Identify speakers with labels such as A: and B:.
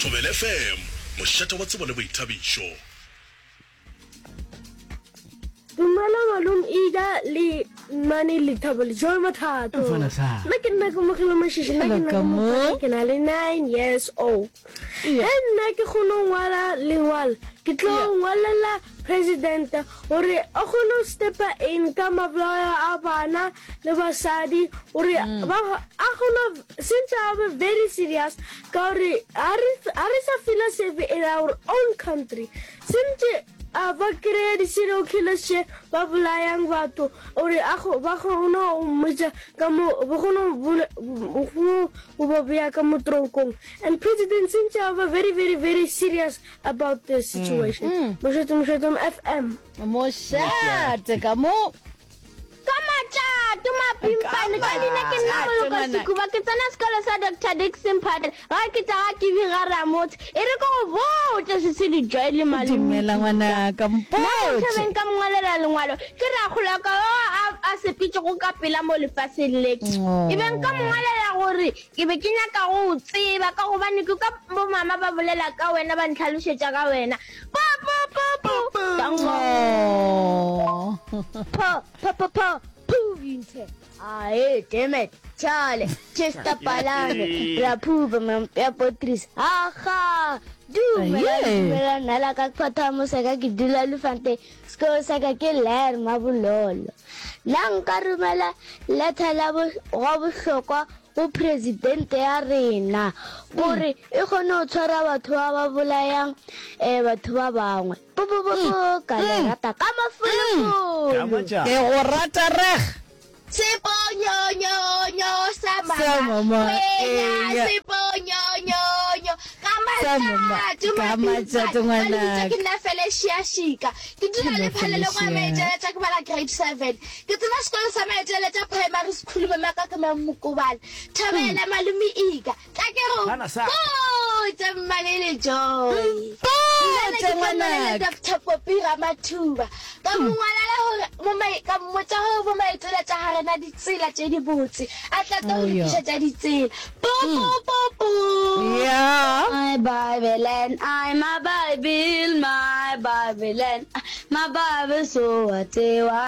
A: Thobela FM, mošate wa tsebo le boithabišo.
B: Dumela malome Ida le Mmane Lethabo le Joy Mathato.
C: Mfana sa.
B: Nna ke nna Kamogelo Mashishi, nna ke nna
C: Hello, Kamo.
B: Kamogelo, ke na le 9 years old.
C: Yeah.
B: Ge nna ke kgone go ngwala lengwalo, ke tlo
C: Yeah.
B: ngwalela president gore a kgone go stepa in ka mabolao a bana le basadi gore
C: Mm.
B: ba a kgone since a be very serious ka gore ga re ga re sa feela safe in our own country. Sentše a ba kry-a di-serial killers tše ba bolayang batho gore a ba kgone go mmotša ka mo ba kgone go go ba beya ka mo tronkong and president sentše a ba very very very serious about the situation. Mošate Mošate FM.
D: Mošate ka mo.
E: Ka matšato mapimpane, ka leina ke nna Moloko Sekuba, ke tsena sekolo sa Doctor Dickson Phahlane, ga ke tša ga Kibi ga Ramotse. E re ke go botše Sesedi Joy le Malome
D: Dumela
E: Tuka.
D: ngwanaka,
E: Nna
D: mpotše.
E: Mothabeng ka mo ngwalela lengwalo, ke rakgolo wa ka yo a a sepetšego ka pela mo lefaseng le. E be nka mo ngwalela gore ke be ke nyaka go o tseba ka gobane ke kwa bomama ba bolela ka wena ba ntlhalošetša ka wena. Po po po po. Dango.
D: Oh.
E: Po po po po. Puvinthe. Ae, damn it. Chale, Chester Palane, Rapuba, Mampea Potris. Aha! Dumela,
D: Aye.
E: dumela, nna la ka kgotha moseka ke dula Lufante. Sekolo sa ka ke Ler Mabololo. Nna nka romela letter la bo gwa bohlokwa go presidente ya rena gore e kgone go tshwara batho ba ba bolayang um batho ba bangwe. Po po po po ka le rata ka mafolofolo.
C: Ka matšatši.
D: Ke go rata reg.
E: Seponyonyonyo sa
D: Sa mama,
E: mama kwenya
D: eya.
E: seponyonyonyo ka
D: Sa mama,
E: matšato
D: ka matšato
E: mapimpane ba le bitša
D: ngwanaka.
E: ke nna Felecia Shika ke dula
D: Hello
E: le phalelong ya
D: Felecia.
E: Maetšeletša ke bala grade 7 ke tsena sekolo sa Maetšeletša primary school mama ka ke Mamokobala Thobela malome Ika Tla ke go
C: Bana sa.
E: botše Mmane le Joy. Nna ne
D: Mpotše
E: ke tlo ngwalela
D: ngwanaka.
E: Doctor Poppy Ramathuba. Ka mo ngwalela gore mo mai, ka mmotša gore mo maetšeletša ga re na ditsela tše dibotse. A tla tlo
D: Oh,
E: re
D: yeah.
E: lokišetša ditsela. Po po po po.
D: Yeah.
E: My Bible and I, my Bible, my Bible and I, my Bible so wa tsewa.